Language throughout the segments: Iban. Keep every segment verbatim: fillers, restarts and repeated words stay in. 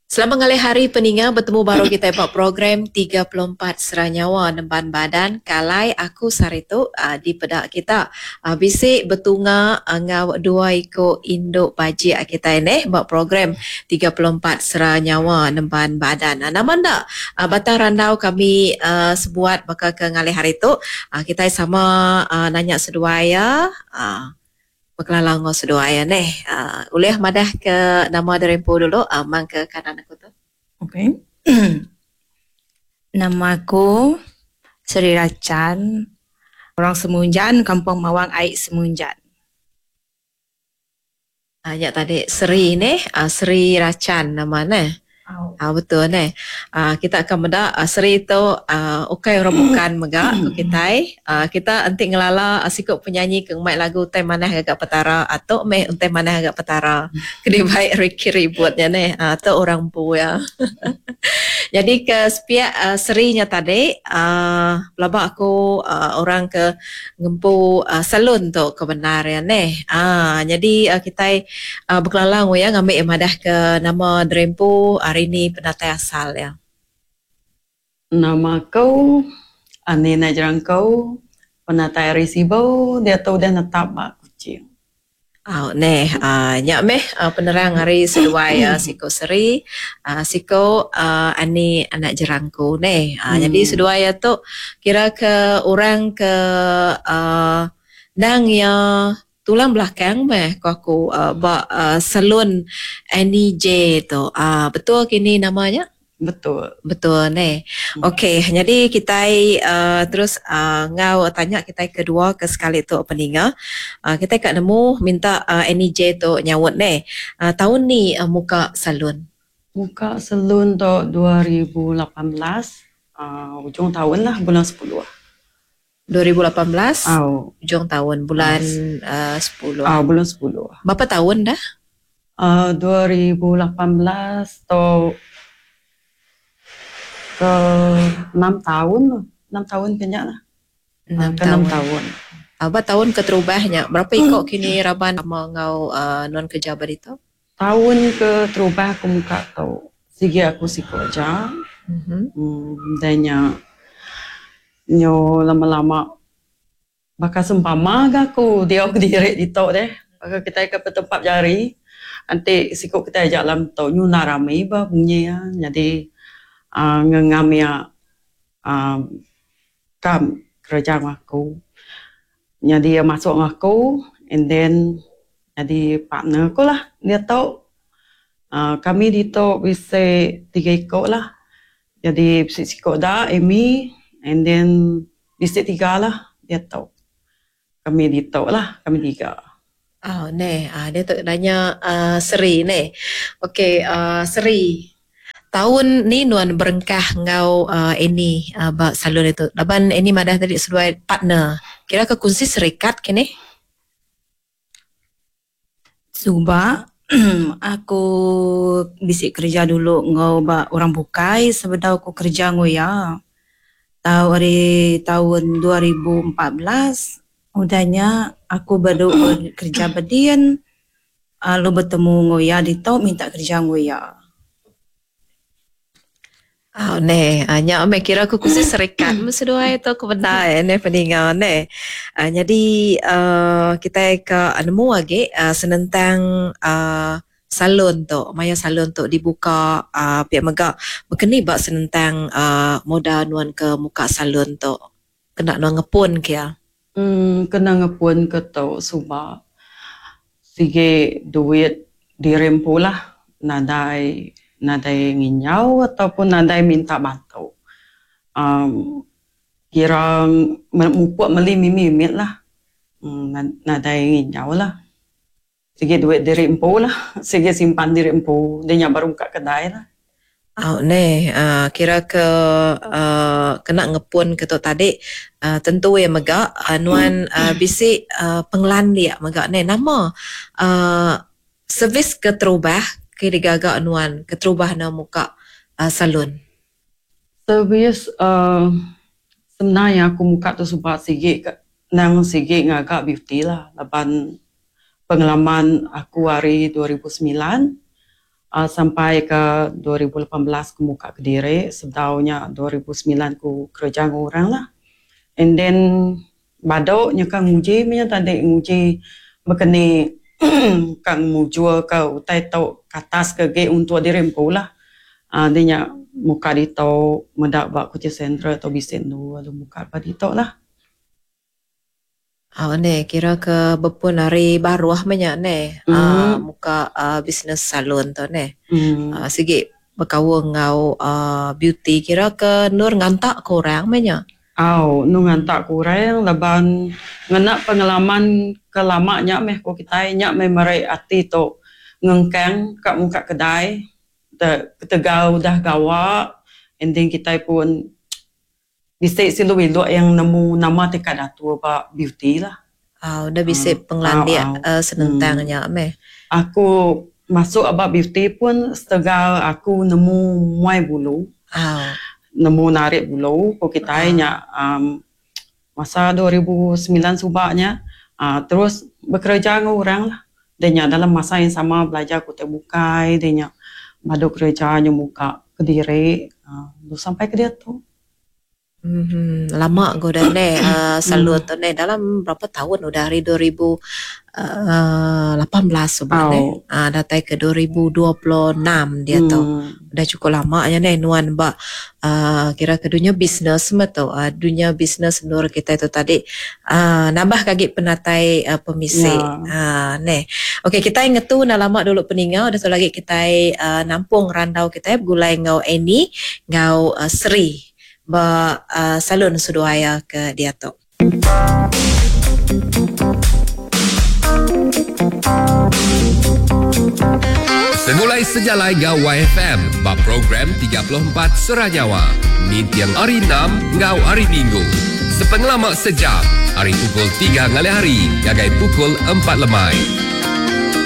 Selamat ngalih hari peninga, betemu baru kita ba program tiga puluh empat Sera Nyawa Nemban Badan kalai aku sehari tu uh, dipeda kita uh, bisi betunga enggau dua iku indu bajik kita ini ba program tiga puluh empat Sera Nyawa Nemban Badan. Uh, nama enda uh, batang randau kami uh, sebuat baka ke ngalih hari tu uh, kita sama uh, nanya seduai ya. Uh, Bekelala enggau seduai ya neh. Uh, ulih madah ke nama derempu dulu, uh, mang ke kanan aku tu. Okey. Nama aku Seri Rachan, orang Semunjan, Kampung Mawang Aik Semunjan. Uh, ya tadi Seri neh, uh, Seri Rachan nama neh. Oh. Ah, betul neh. Ah, kita akan meda uh, Seri tu uh, ukai orang bukan mega ku kitai. Uh, kita enti ngelala uh, siku penyanyi ke ngmai lagu utai manah gagak petara atau meh utai manah gagak petara. Kedi baik Ricky ributnya neh. Uh, tu orang empu ya. Jadi ke sepiak uh, Seri nya tadi uh, pelaba aku uh, orang ke ngempu uh, salon tu ke benar ya neh. Ah, jadi uh, kitai uh, bekelala ya ngambil madah ke nama derempu hari ni pendatai asal ya. Nama aku Ani Najerangkau, penatai ari Sibu, dia tu udah netap ba Kuching. Oh, neh, uh, nyak meh uh, penerang hari seduai uh, siko Seri, uh, siko uh, Ani anak jerangku neh. Uh, hmm. Jadi seduai ya tu kira ke orang ke uh, nang ya tulang belakang meh ko aku uh, ba uh, salon Annie J tu. Uh, betul kini namanya? Betul. Betul neh. Okey, jadi kita uh, terus uh, ngau tanya kita kedua ke sekali tu peninga. Uh, kita kat nemu minta uh, Annie J tu nyawut neh. Uh, tahun ni uh, muka salon. Muka salon tu dua ribu lapan belas, uh, hujung tahun lah, bulan sepuluh. dua ribu lapan belas? Oh. Hujung tahun, bulan uh, sepuluh. Ah, bulan sepuluh. Berapa tahun dah? Uh, dua ribu lapan belas tu ke enam tahun, enam tahun kena lah. Enam Ke enam tahun. tahun. Apa tahun keterubahnya? Berapa ikut kini raban sama ngau, uh, non kerja berita? Tahun ke terubah aku muka tau. Sigi aku siko aja. Mm-hmm. Hmm, danya nyo lama-lama bakal sempama ga aku dia aku direk di tok deh. Bakal kita ke tempat jari. Nanti siko kita ajak lam tok nyuna rame ba bunyi ya. Jadi Uh, ngengam ya, uh, kam kerja aku. Jadi dia masuk aku and then jadi partner aku lah dia tahu. Uh, kami di tok bisa tiga ikut lah. Jadi bisa sikok dah Amy and then bisa tiga lah dia tahu. Kami di tok lah, kami tiga. Oh, neh, ah, dia tu nanya, uh, Seri neh. Okey, uh, Seri. Tahun ni nuan berengkah ngau, uh, Annie, uh, ba salon itu. Laban Annie madah tadi seduai partner. Kira ke kunci serikat kini? Suba aku bisik kerja dulu ngau ba orang bukai sebedau aku kerja ngau ya. Tahu hari tahun dua ribu empat belas udahnya aku baru kerja bedian lalu bertemu ngau ya di tau minta kerja ngau ya. Oh, neh, nya ame kira aku khusus serikat mesti dua itu aku benar eh, neh peninga neh. Ah, jadi, uh, kita ke nemu lagi, uh, senentang, uh, salon tu, maya salon tu dibuka, uh, pihak megak berkeni bak senentang, uh, moda nuan ke muka salon tu. Kena nuan ngepun ke ya? Hmm, kena ngepun ke tu suba. Sige duit dirempu lah, nadai nadai nginyau ataupun nadai minta bantu. Um, kira mupuk meli mimi-mimi lah. Hmm, nadai nginyau lah. Sige duit diri empu lah. Sige simpan diri empu. Dia nyak baru buka kedai lah. Oh, neh, uh, kira ke, uh, kena ngepun ke tu tadi, uh, tentu ya megak, uh, nuan, uh, bisik, uh, penglan dia megak neh. Nama, uh, servis keterubah ke digagak nuan keterubah na muka, uh, salon. Servis, uh, sebenarnya aku muka tu sebab sigi ke, nang sigi ngagak beauty lah. Laban pengalaman aku hari dua ribu sembilan, Uh, sampai ke dua ribu lapan belas aku muka kediri, sebedau nya dua ribu semilan aku kerja dengan orang lah. And then badok nya kan nguji nya tadi nguji bekeni kan mujur ke utai tau katas ke ge untuk diri empu lah. Uh, dia nya muka dito medak ba Kuching Central atau bisen tu lalu muka ba dito lah. Ah, ne kira ke bepun hari baru ah banyak ne. Mm. Ah, muka, ah, bisnes salon tu ne. Mm. Ah, sigi berkaul ngau, ah, beauty kira ke nur ngantak kurang banyak. Au, nu ngantak kurang laban ngena pengalaman ke lama nya meh ko kitai nya meh merai ati tu ngengkang ka muka kedai te ketegal udah gawa ending kitai pun bisik silu iluk yang nemu nama tingkat atur ba beauty lah. Ah, udah bisik Ah, penglandik, ah, ah. eh, senentang Hmm. nya meh. Aku masuk aba beauty pun setegal aku nemu muai bulu. Ah. Nemu narik bulu ko kitai Ah. nya, um, masa dua ribu sembilan subaknya, ah, terus bekerja dengan orang lah. Dia nya dalam masa yang sama belajar ku terbukai, dia nya badu kerja nya muka kediri, ah, sampai ke dia tu. Hmm, lama go dah ne, uh, salon Hmm. tu ne dalam berapa tahun udah hari dua ribu, uh, lapan belas sebab ne. Au. Ah, datai ke dua ribu dua puluh enam dia tu. Hmm. Udah cukup lama nya ne nuan ba, uh, kira ke dunia bisnes mah tu. Uh, dunia bisnes nur kita tu tadi, uh, nambah kagi penatai, uh, pemisi. Ya. Ah, ne. Okey, kita ngetu na lama dulu peningau, dah tu lagi kita, uh, nampung randau kita begulai ngau Annie ngau, uh, Sri ba, uh, salon Suduaya ke dia tu. Segulai sejalai ngau Y F M ba program tiga puluh empat Seranyawa. Nintiang hari enam ngau hari Minggu. Sepengelama sejam, hari pukul tiga ngalih hari, gagai pukul empat lemai.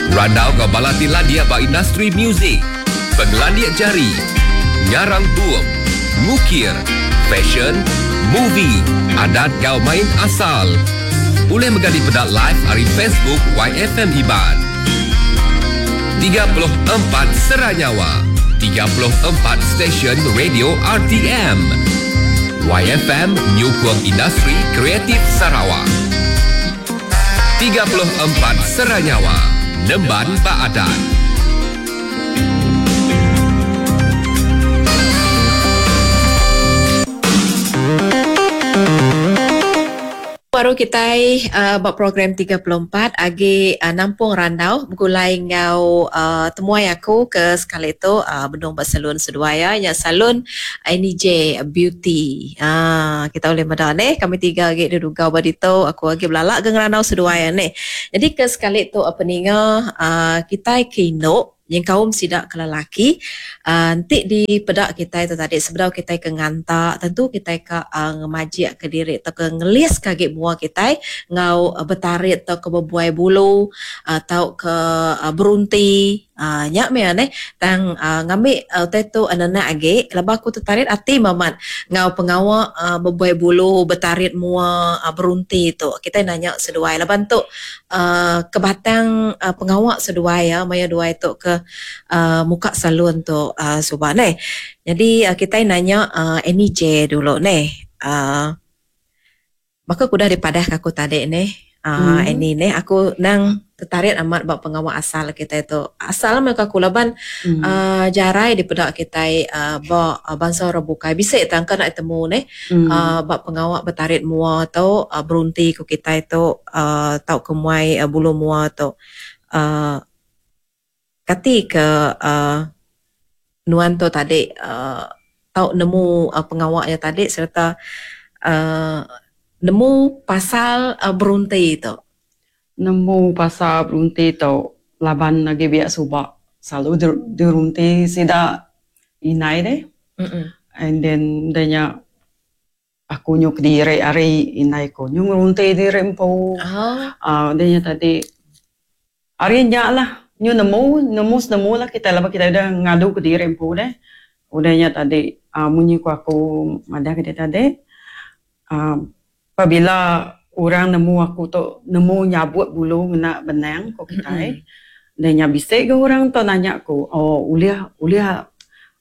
Randau ngau balati landia ba industri muzik, pengelandia jari, ngarang buum, ngukir, fashion, movie, adat gau main asal. Boleh menggali pedak live hari Facebook Y F M Iban. tiga puluh empat Seranyawa, tiga puluh empat Stesen Radio R T M. Y F M Nyukung Industri Kreatif Sarawak. tiga puluh empat Seranyawa, Nemban Baadan. Baru kita, uh, buat program tiga puluh empat agi, uh, nampung randau begulai ngau, uh, temuai aku ke sekali tu, uh, bendung buat salon seduaya nya salon N J Beauty. Ah, kita boleh medan eh kami tiga agi duduk badito aku agi belalak ke ngerandau seduaya ni. Jadi ke sekali tu apa ninga, uh, kita kino yang kaum sidak ke lelaki, uh, nanti di pedak kita itu tadi sebedau kita ke ngantak tentu kita ke, uh, ngemajik ke diri atau ke ngelis kaki buah kita ngau, uh, bertarik atau ke berbuai bulu atau ke, uh, berunti. Uh, nyak me ane tang, uh, ngambil, uh, tetu anak-anak age lepas aku tertarik ati mamat ngau pengawa, uh, berbuai bulu bertarik mua, uh, berunti tu kita nanya seduai lepas tu, uh, kebatang, uh, pengawak seduai ya maya duai tu ke, uh, muka salon tu, uh, subah ne. Jadi, uh, kita nanya, uh, Annie J dulu ne. Uh, maka kudah dipadah ke aku tadi ne. Uh, Hmm. Annie ne aku nang tertarik amat bab pengawak asal kita itu. Asal mereka aku laban, Hmm. uh, jarai di pedak kita, uh, bab, uh, bangsa orang bukai. Bisa tangka nak temu ne, Hmm. uh, bab pengawak bertarik mua atau, uh, berunti ku kita itu, uh, tau kemuai, uh, bulu mua tu. Uh, kati ke, uh, nuan tu tadi, uh, tau nemu, uh, pengawaknya tadi serta, uh, nemu pasal, uh, berunti tu. Nemu pasal berunti tu laban lagi biak subak selalu der-, derunti sida inai deh. Mm-mm. And then danya aku nyuk diri ari inai ko nyuk ngerunti diri empu. Oh. Ah, danya tadi ari nyak lah nyu nemu, nemu senemu lah kita laban kita udah ngadu ke diri empu deh. Udahnya tadi, ah, munyi ku aku madah ke dia tadi. Ah, apabila orang nemu aku tu nemu nyabut bulu ngena benang ko kita. Mm-mm. Udah nya bisi ga orang tu nanya ku, oh ulih ulih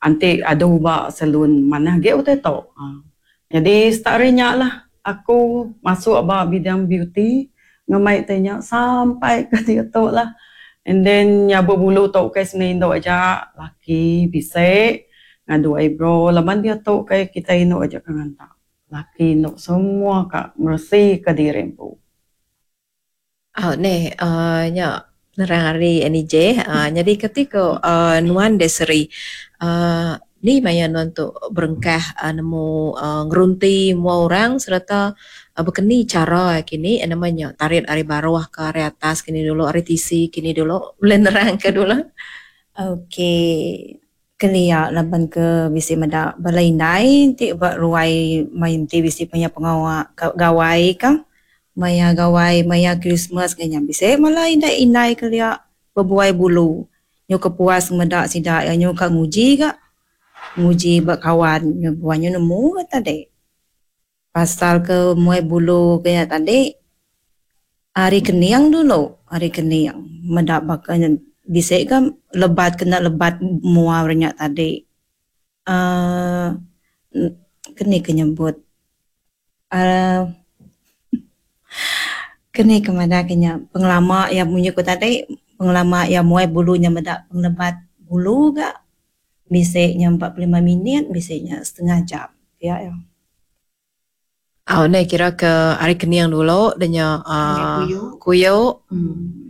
enti adu ba salon manah agi utai tu. Aaa nyadi start ari nya lah aku masuk ba bidang beauty ngemai ti nya sampai ke diatu lah. And then nya bebulu tu kai seni indu aja laki bisi ngadu eyebrow laban diatu kai kitai indu aja ke nganta. Laki indu semua ka meresi ka diri empu. Au neh uhh nya penerang ari Annie J uhh nyadi kati ko uhh nuan Desiree uhh ni maya nuan tu berengkah nemu uhh ngerunti mua orang sereta bekeni cara kini nama nya tarit ari baruh ka ari atas kini dulu ari tisi kini dulu ulih nerang ka dulu. Okey kelia laban ke bisi meda bala indai ti ba ruai main ti bisi maya pengawa gawai ka. Maya gawai maya Christmas ke nya bisi bala indai-indai kelia bebuai bulu. Nyu ke puas meda sida iya nyu ka nguji ga. Nguji ba kawan nyu buai nyu nemu ga tadi. Pasal ke muai bulu ke nya tadi ari kening dulu ari kening meda baka bisi ga lebat kena lebat mua re nya tadi uhh keni ke nyebut uhh keni ke madah ke nya pengelama iya munyi ku tadi pengelama iya muai bulu nya meda pengelebat bulu ga bisi nya empat puluh lima minit bisi nya setengah jam pia iya. Au neh kira ke ari kening dulu da nya uhh kuyu.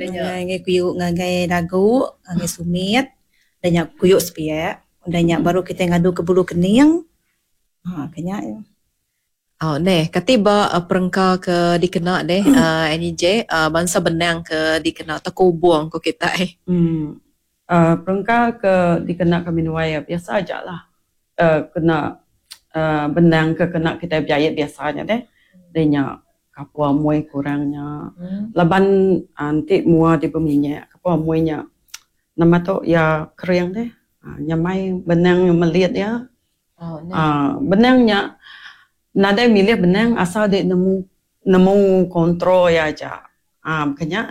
Ngagai kuyu ngagai dagu ngagai sumit da nya kuyu sepiak udah nya baru kitai ngadu ke bulu kening uhh ke nya iya. Au neh kati ba perengka ke dikena deh uhh Annie J uhh bansa benang ke dikena tauka ubung ku kitai. Uhh perengka ke dikena kami duai biasa aja lah uhh kena uhh benang ke kena kitai bejait biasa nya deh. Deh nya kapur amoi kurang nya laban enti mua ti beminyak kapur amoi nya nama tu iya kering deh nyamai benang melit iya. uhh Benang nya nadai milih benang asal dek nemu nemu kontrol iya aja uhh baka nya.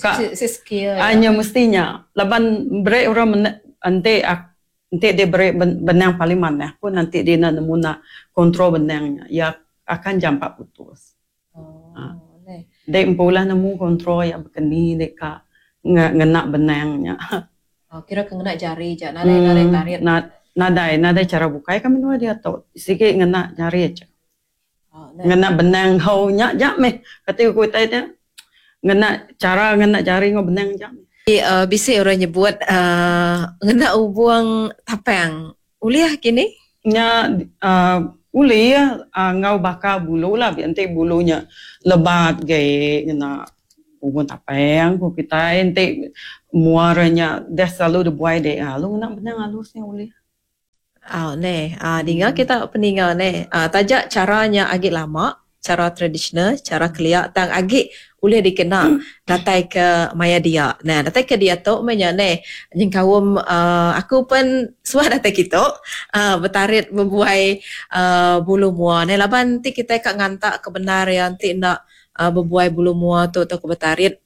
Ka nya mesti nya laban beri orang enti enti dek beri benang paling manah pun enti dek enda nemu nak kontrol benang nya iya akan jampat putus. Dek empu lah nemu kontrol iya baka ni dek ka ngena benang nya. Kira ke ngena jari ja nadai nadai tarit. Nadai nadai cara bukai kami dua diatu sigi ngena jari aja. Ngena benang hau nya ja meh kati ku kitai nya ngena cara ngena jari enggau benang ja meh. Uh, bisi orang nyebut uh, ngena ubung tapang. Ulih kini? Nya uh, ulih uh, enggau bakar bulu lah enti bulu nya lebat ge ngena ubung tapang ku kitai enti mua nya dah selalu dibuai dek lalu ngena benang halus nya ulih. Ah neh, ah dinga kita peninga neh. Ah taja caranya agi lama, cara tradisional, cara kelia tang agi ulih dikena datai ke maya dia. Nah, datai ke dia tu meh nya neh nyengkaum uh, aku pun suah datai kitu uh, betarit bebuai uh, bulu mua neh laban ti kita ka ngantak ke benar ya enti nak uh, bebuai bulu mua tu atau ke betarit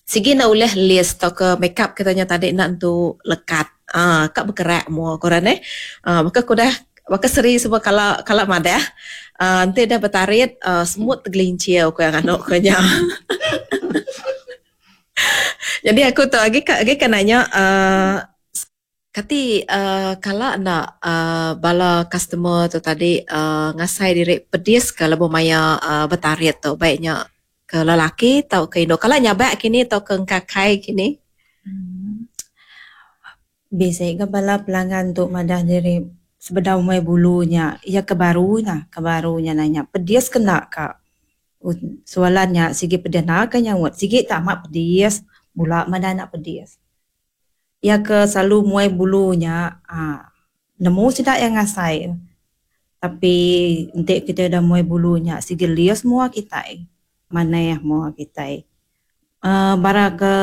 sigi nak ulih list atau ke make up katanya tadi nak entu lekat. Ah, kak bergerak mua korang eh. Ah, maka aku dah maka seri semua kala kala madah. Ah, nanti dah bertarit uh, semut tergelincir aku yang anu ko nya. Jadi aku tu lagi lagi kan nanya uh, kati uh, kala nak uh, bala customer tu tadi uh, ngasai diri pedis ke lebuh maya uh, bertarit tu baiknya ke lelaki atau ke indu. Kala nyabak kini atau ke engkakai kini? Hmm. Bisa ke bala pelanggan tu madah diri sebedau mai bulunya ia ke baru nya ke barunya nanya pedis kena ka soalannya sigi pedis nak ka nyaut sigi tak amat pedis bula madah nak pedis. Ia ke selalu muai bulunya ah nemu sida yang ngasai. Tapi enti kita dah muai bulunya sigi lias semua kita. Maneh mua kita. Uh, bara ke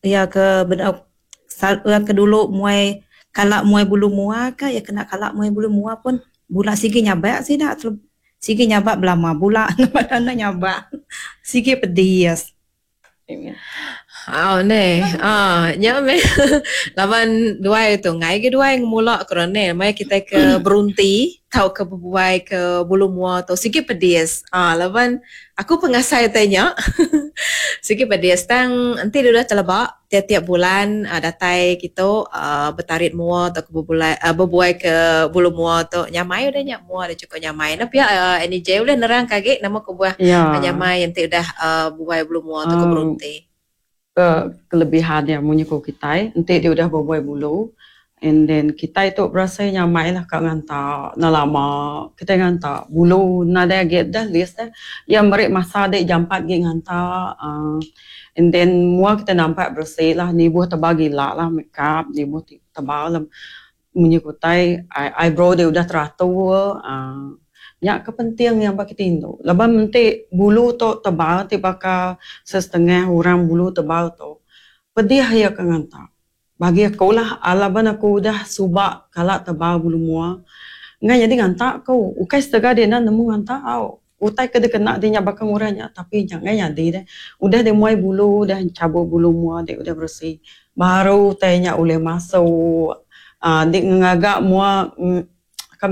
ia ke bedau ia ke dulu muai kalak muai bulu mua ka ya kena kalak muai bulu mua pun bula sigi nyabak sida sigi nyabak belama bula mana nyabak sigi pedis. Oh ne. Ah, nya meh. Laban duai tu ngai ge duai ngemula ke ne mai kita ke berunti tau ke bebuai ke bulu mua tu sigi pedis. Ah, laban aku pengasai tanya sigi pedis tang enti udah telebak tiap-tiap bulan uh, datai kita uh, bertarit mua atau ke bebuai uh, bebuai ke bulu mua tu nyamai udah nya mua dah cukup nyamai. Nah pihak uh, N J boleh nerang kagi nama ke buah ya. Nyamai enti udah uh, buai bulu mua atau ke Um, berunti. Ke kelebihan yang munyi ko kita enti dia udah berbuai bulu and then kita itu berasa nyamai lah kak nganta na lama kita nganta bulu nada agi dah list dah yang merik masa dek jampat gi nganta uh, and then mua kita nampak bersih lah ni buah tebal gila lah makeup ni buah tebal lah munyi ko tai eyebrow dia udah teratur uh, nya kepenting yang bagi tindu. Lepas nanti bulu tu tebal ti bakal setengah orang bulu tebal tu. Pedih ya ke nganta. Bagi aku lah alaban aku udah subak kalak tebal bulu mua. Ngai jadi nganta aku. Ukai setengah dia nak nemu nganta au. Utai ke dia kena dia nya bakal ngurangnya tapi jangan jadi deh. Udah dia muai bulu udah cabut bulu mua dia udah bersih. Baru tanya oleh masuk. Uh, dia ngagak mua mm,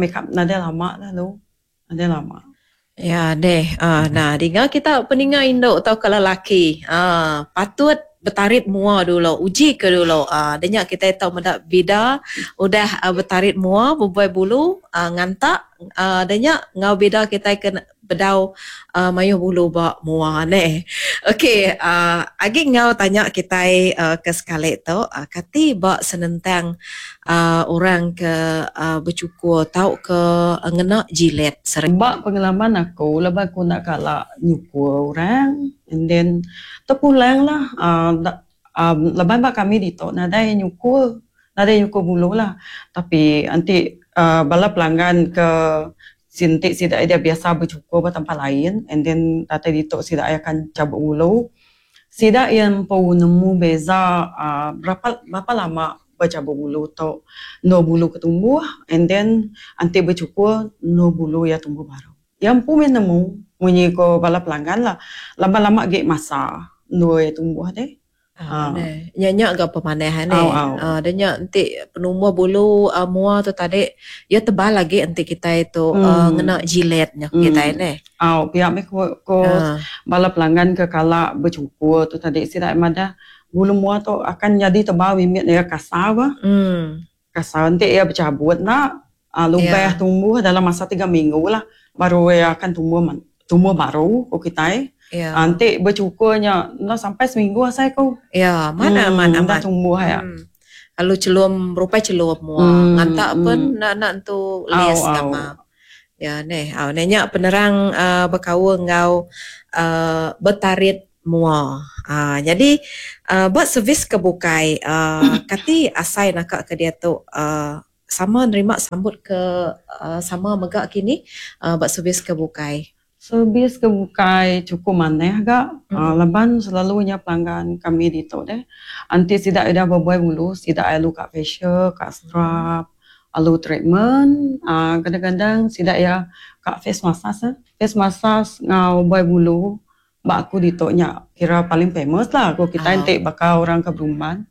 make up nada lama lah lu. Ada lama. Ya deh. Ah, nah, dengar kita peninga induk atau kalau lelaki. Ah, patut bertarit mua dulu, uji ke dulu. Ah, denyak kita tahu mendak bida udah uh, bertarit mua, berbuai bulu, uh, ngantak, ah, denyak ngau bida kita kena bedau uh, mayuh bulu ba mua ne. Okey, uh, agi ngau tanya kita uh, ke sekali tu, uh, kati ba senentang uh, orang ke uh, bercukur tau ke uh, ngena jilet sering. Ba pengalaman aku, lepas aku nak kalak nyukur orang and then terpulang lah uh, um, lepas ba kami di tok nadai nyukur, nadai nyukur bulu lah. Tapi nanti uh, bala pelanggan ke sintik sidak dia biasa bercukur ba tempat lain and then datai ditok sidak akan cabut bulu. Sidak yang pun nemu beza uh, berapa berapa lama bercabut bulu tu no bulu ketumbuh and then anti bercukur no bulu ya tumbuh baru. Yang pun nemu munyi ko bala pelanggan lah lama-lama gek masa no ya tumbuh deh. Ah, nyak gak pemanehan ni. Ah, dia nyak nanti penumbuh bulu uh, mua tu tadi ya tebal lagi nanti kita itu hmm. uh, ngena jilet nyak hmm. kita ni. Aw, pihak me ko, ko uh. bala pelanggan ke kala bercukur tu tadi sidak madah bulu mua tu akan jadi tebal mimit dia kasar bah. Hmm. Kasar nanti ia bercabut nak uh, lubang yeah. tumbuh dalam masa tiga minggu lah baru ia akan tumbuh tumbuh baru ko kita. Ya. Nanti bercukurnya nak sampai seminggu saya ko. Ya, mana hmm, mana dah tumbuh ya. Hmm. Lalu celum rupa celum mua. Hmm, Ngantak hmm. pun nak nak tu lias sama. Ya neh, au nenya penerang uh, berkaul ngau uh, bertarit mua. Uh, jadi uh, buat servis kebukai uh, kati asai nak ke dia tu uh, sama nerima sambut ke uh, sama megak kini uh, buat servis kebukai. Servis kebukai cukup maneh agak. Mm. Uh, leban selalunya pelanggan kami di tu deh. Anti sidak ada berbuai bulu, sidak alu kat facial, kat scrub, alu treatment. Uh, kadang-kadang sidak ya kat face massage. Eh. Face massage ngau buai bulu. Bak aku di tu nya kira paling famous lah. Aku kita Oh. entik bakal orang ke berumban.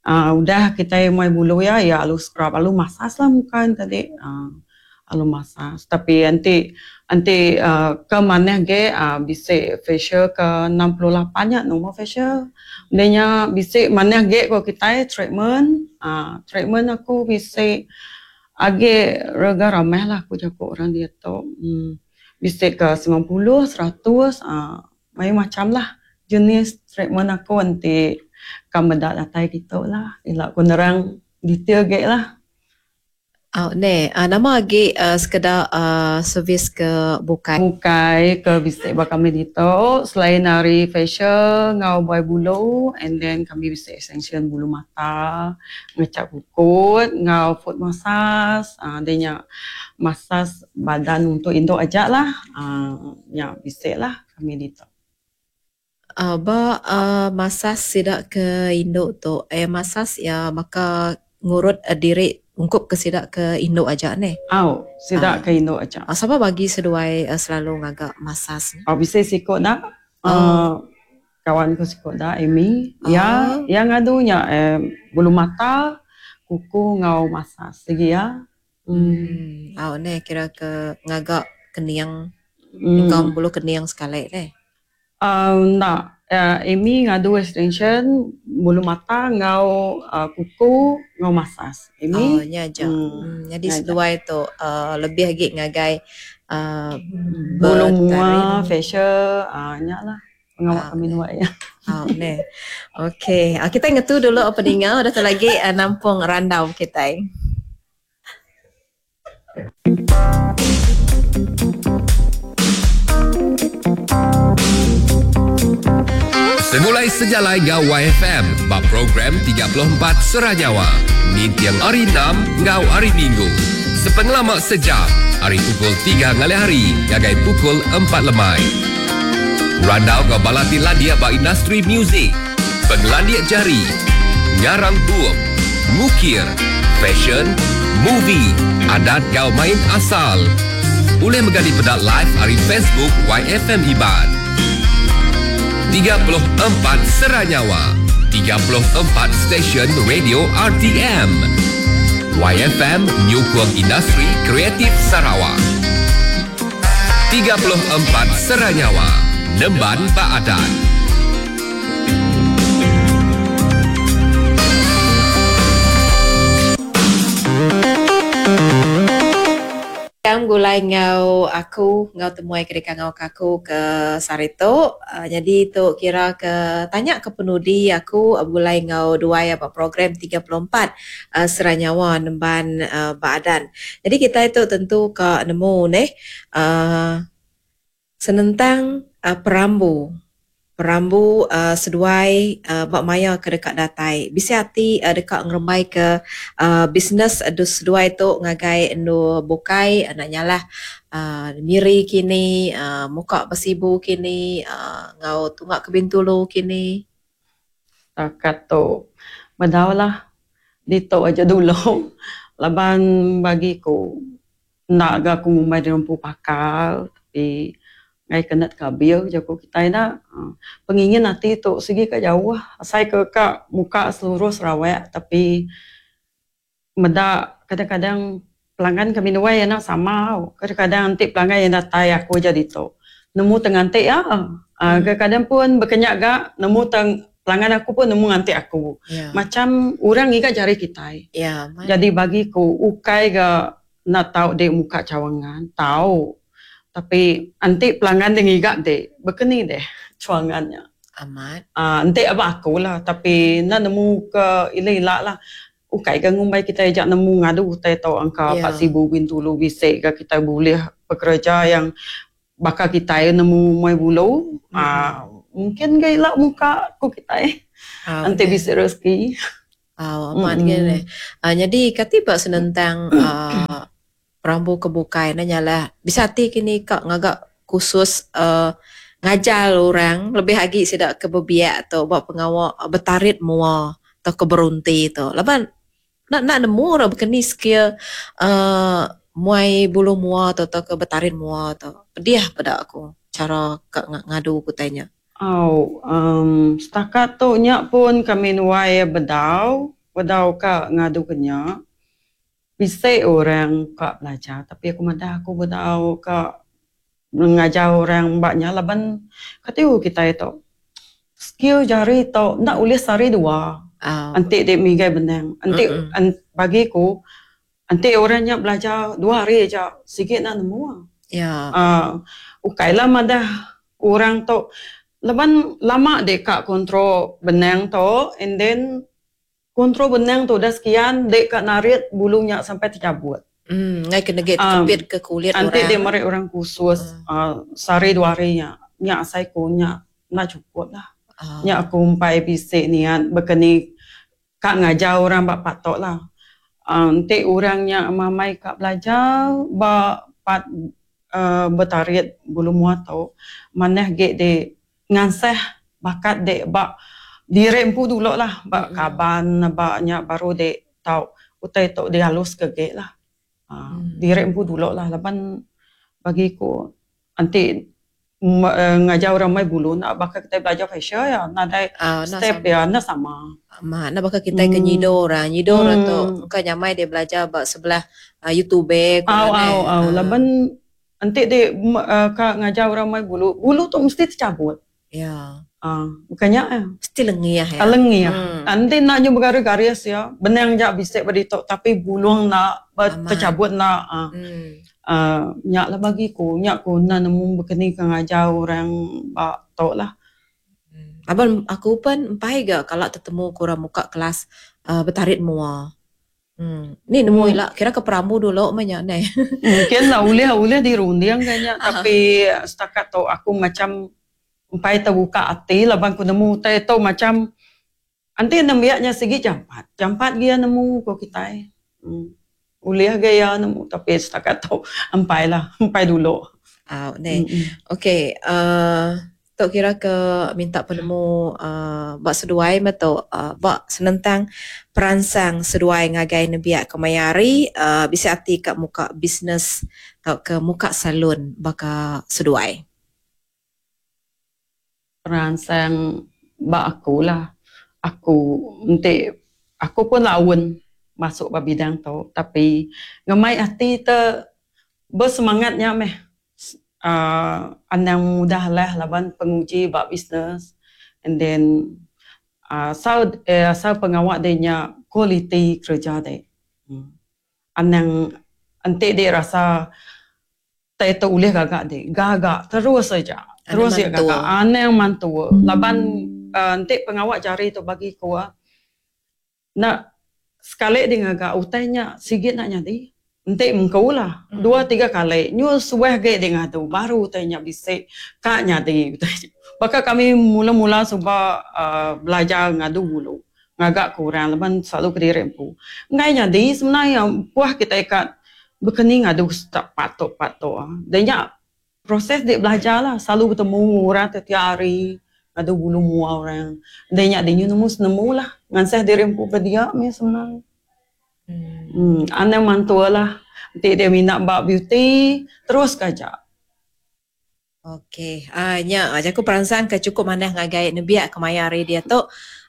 Uh, udah kita muai bulu ya, ya alu scrub, alu massage lah muka tadi. Uh, alu massage. Tapi nanti nanti uh, ke mana ke uh, bisa facial ke enam puluh lapan nya normal facial. Denya bisa mana ke ko kita treatment, uh, treatment aku bisa age rega ramai lah aku jago orang dia tu. Hmm, bisa ke sembilan puluh, seratus, uh, macam macam lah jenis treatment aku nanti kamu dak datai gitu lah. Ilak aku nerang detail ge lah. Oh, ne, uh, nama lagi uh, sekedar uh, servis ke bukai. Bukai ke bisik bak kami dito selain dari facial ngau buai bulu and then kami bisik extension bulu mata, ngecap kukut, ngau foot massage, uh, dia nya massage badan untuk induk aja lah. Uh, nya bisik lah kami dito. Uh, ba uh, massage sidak ke induk tu, eh massage ya maka ngurut uh, diri ungkup ke sidak ke induk aja ni. Au, sidak Ah. ke induk aja. Ah, siapa bagi seduai uh, selalu ngagak massage ni? Oh, bisa sikut nak. Oh. Uh, Kawan ku siku da Amy. Iya Oh. iya ngadu nya eh, bulu mata, kuku enggau massage sigi iya. Hmm. Hmm. Au neh kira ke ngaga kening enggau Hmm. bulu kening sekali neh. Uh, enda uh, Amy ngadu extension bulu mata enggau uh, kuku enggau massage. Oh Amy nya aja. hmm, Hmm, jadi nya aja. seduai tu uh, lebih agi ngagai uh, Bulu betarit. mua, facial, ah nya lah pengawa Ah, kami neh. dua ya. Oh, neh. Okey, uh, kita ngetu dulu peninga udah tu lagi uh, nampung randau kita. Segulai sejalai ngau Y F M ba program tiga puluh empat Sera Nyawa. Nintiang hari enam ngau hari Minggu. Sepengelama sejam, hari pukul tiga ngalih hari ngagai pukul empat lemai. Randau ngau balati landia ba industri muzik, pengelandia jari, ngarang bup, ngukir, fashion, movie, adat ngau main asal. Boleh menggali pedak live hari Facebook Y F M Iban. tiga puluh empat Sera Nyawa, tiga puluh empat stesen radio R T M. Y F M Nyukung Industri Kreatif Sarawak. tiga puluh empat Sera Nyawa, Nemban Baadan. Yang gulai ngau aku, ngau temuai ke dekat ngau kaku ke Sarito. Uh, jadi tu kira ke tanya ke penudi aku gulai ngau dua apa program tiga puluh empat, uh, Sera Nyawa Nemban, uh, Baadan. Jadi kita itu tentu ke nemu neh, uh, senentang, uh, perambu. Perambu, uh, seduai, uh, bak maya ke dekat datai. Bisa hati, uh, dekat ngerembai ke, uh, bisnes, uh, seduai tu ngagai nu bukai, uh, nak nyalah, uh, miri kini, uh, muka bersibu kini, uh, ngau tunggak ke Bintulu kini. Takat tu bedaulah dito aja dulu. Laban bagiku nak ga aku ngumbai di rumpu pakal tapi ngai kenet kabir jago kita ina. Pengingin hati tu segi ke jauh asai ke ka muka seluruh Sarawak tapi meda kadang-kadang pelanggan kami nuai yana sama kadang-kadang nanti pelanggan yang datai aku jadi tu nemu tenganti ya. Hmm. Kadang-kadang pun berkenyak ga nemu teng pelanggan aku pun nemu nganti aku. Ya. Macam orang ngiga jari kita. Ya, man. Jadi bagiku ukai ga nak tahu dek muka cawangan tahu. Tapi anti pelanggan dia ngiga dek, berkeni deh cawangannya. Amat. Ah, anti apa aku lah, tapi nak nemu ke ila-ila lah. Ukai ke ngumbai kita ajak nemu ngadu utai tau angka Ya. empat ribu Bintulu bisik ke kita boleh bekerja yang bakal kita nemu mai bulu. Hmm. Ah, mungkin ke ila muka ku kita eh. Ah, Anti betul. bisik rezeki. Ah, amat Mm-mm. ke deh. Ah, jadi kati bak senentang, ah, perambu kebukai nanya lah bisa hati kini kak ngagak khusus, uh, ngajar orang lebih agi sidak ke bebiak atau buat pengawak betarit mua atau ke berunti tu. Laban nak nak nemu orang berkeni skill, uh, muai bulu mua atau, atau ke betarit mua tu. Pedih pada aku cara kak nga-, ngadu ku tanya. Oh, um, setakat tu nyak pun kami nuai bedau, bedau kak ngadu kenya. Bisa orang kak belajar, tapi aku madah aku bedau kak mengajar orang baknya laban katiu kita itu skill jari tu nak ulih sari dua. Ah. Antik dek migai benang. Antik Mm-mm. an, bagiku antik orangnya belajar dua hari aja sikit nak nemu. Ya. Ah, ukailah madah orang tu laban lama dek kak kontrol benang tu and then kontrol benang tu dah sekian dek kak narik bulunya sampai tercabut. Hmm, ngai kena get Um, kepit ke kulit Antik orang. dia merik orang khusus, Hmm. uh, sehari dua hari nya. Nya asai ku nya nak cukup lah. Ah. Nya aku umpai bisik niat berkeni kak ngajar orang bak patok lah. Uh, antik orangnya mamai kak belajar bak pat, uh, bertarik bulu mua tau. Maneh ge de nganseh bakat dek bak dirempu dulu lah bak Mm-mm. kaban bak nya baru dek tau utai tok dia halus ke ge lah. Ah, Mm. dirempu dulu lah laban bagiku anti Ngajar orang mai bulu nak baka kita belajar fashion ya nadai uh, step ya na sama. Ma na baka kita ke nyido orang nyido orang tu bukan nyamai dia belajar ba sebelah uh, YouTube ko. Au au au laban enti dia uh, ka ngajar orang mai bulu bulu tu mesti tercabut. Ya. Ah, bukannya ya. Mesti lengiah ya. Lengiah. Hmm. Nanti nak nyu bergaris-garis ya. Benang jak bisik beritok tapi bulung nak tercabut nak. Ah. Hmm. Uh, nyak lah bagiku, nyak ku nak nemu berkeni ke ngajar orang bak tok lah. Hmm. Abang aku pun empai ga kalau tertemu kurang muka kelas uh, bertarik mua. Hmm. Ni nemu hmm. lah kira ke peramu dulu banyak ni. Mungkin lah ulih-ulih dirunding kayaknya tapi setakat tu aku macam empai terbuka hati lah bang ku nemu tai tu macam anti nembiaknya segi jampat. Jampat dia nemu ko kita. Hmm. Ulih gaya nemu tapi setakat tu empai lah, empai dulu. Ah, ni. Okey, uh, tok kira ke minta penemu uh, bak seduai meto uh, bak senentang peransang seduai ngagai nebiak ke mayari uh, bisa ati kat muka bisnes atau ke muka salon baka seduai. Peransang bak aku lah. Aku nanti aku pun lawan masuk ba bidang tu tapi ngemai hati te bersemangatnya meh uh, anang mudah lah laban penguji bab bisnes and then uh, asal eh, asal pengawak dia nya kualiti kerja dia. Hmm. Anang enti dia rasa tak boleh gagak dia gagak terus saja terus dia gagak anang mantu laban uh, enti pengawak jari tu bagi ku nak sekali dia ngagak utainya sigit nak nyadi. Entik mengkau lah. Hmm. Dua tiga kali. Nyu suah ge dia ngadu. Baru utainya bisik. Kak nyadi. Bahkan kami mula-mula sebab uh, belajar ngadu dulu. Ngagak kurang. Lepas selalu ke diri empu. Ngai nyadi sebenarnya puah kita ikat berkeni ngadu tak patok-patok. Dia nyak proses dia belajar lah. Selalu bertemu orang tiap hari. Ngadu bulu mua orang. Dia nyak dia nemu senemu lah. Nganseh diri empu berdia ni sebenarnya. Hmm. Hmm, aneh mantua lah. Nanti dia minat bab beauty, terus kajak. Okey, ah uh, nya aku peransang ke cukup manah ngagai nebiak kemaya hari dia tu.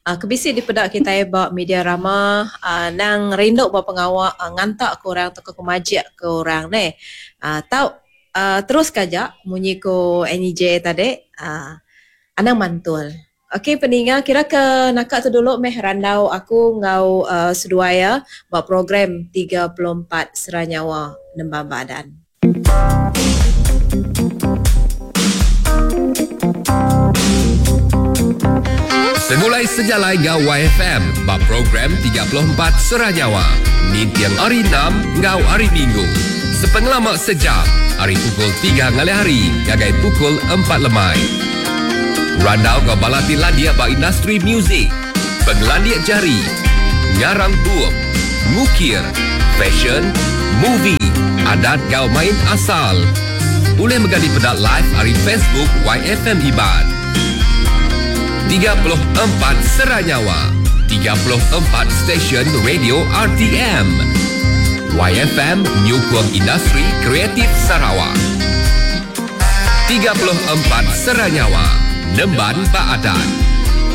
Uh, kebisi di pedak kita bab media rama uh, nang rinduk bab pengawak uh, ngantak ke orang atau ke kemajik ke orang ni. Uh, tau uh, terus kajak munyi ko N J tadi. Uh, anang mantul. Okey peninga kira ke nakak tu dulu meh randau aku ngau uh, seduaya buat program tiga puluh empat Seranyawa Nembang Badan. Semulai sejalai ngau Y F M bab program tiga puluh empat Seranyawa. Nintiang hari enam ngau hari Minggu. Sepengelama sejam hari pukul tiga ngalih hari gagai pukul empat lemai. Randau kau balati landia ba industri muzik, penglandia jari, ngarang bup, ngukir, fashion, movie, adat kau main asal. Boleh menggali pedak live hari Facebook Y F M Iban. tiga puluh empat Seranyawa, tiga puluh empat stesen radio R T M. Y F M Nyukung Industri Kreatif Sarawak. tiga puluh empat Seranyawa. Nemban Baadan.